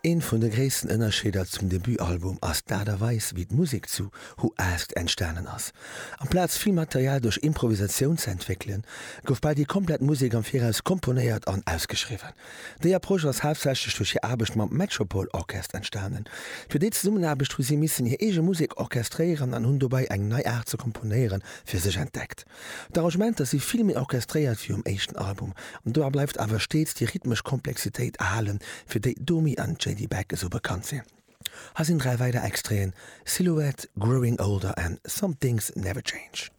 Een vun de gréissten Ënnerscheeder zum Debutalbum ass d'Aart a Weis, wéi d'Musek zu Who Asked entstanen ass. Amplaz vill Material duerch Improvisatioun ze entwéckelen, gouf bal déi komplett Musek am Viraus komponéiert an ausgeschriwwen. Déi Approche ass haaptsächlech duerch hir Aarbecht mam Metropole Orchest entstanen. Fir déi Zesummenaarbecht hu si missen hir eege Musek orchestréieren an hunn dobäi eng nei Aart ze komponéiere fir sech entdeckt. D'Arrangementer si vill méi orchestréiert wéi um éischten Album, an dobäi bleift awer steets déi rhythmesch Komplexitéit erhalen, fir déi Domi an JD Beck esou bekannt sinn. Hei sinn 3 weider Extraiten, Silhouette, Growing Older an Some Things Never Change.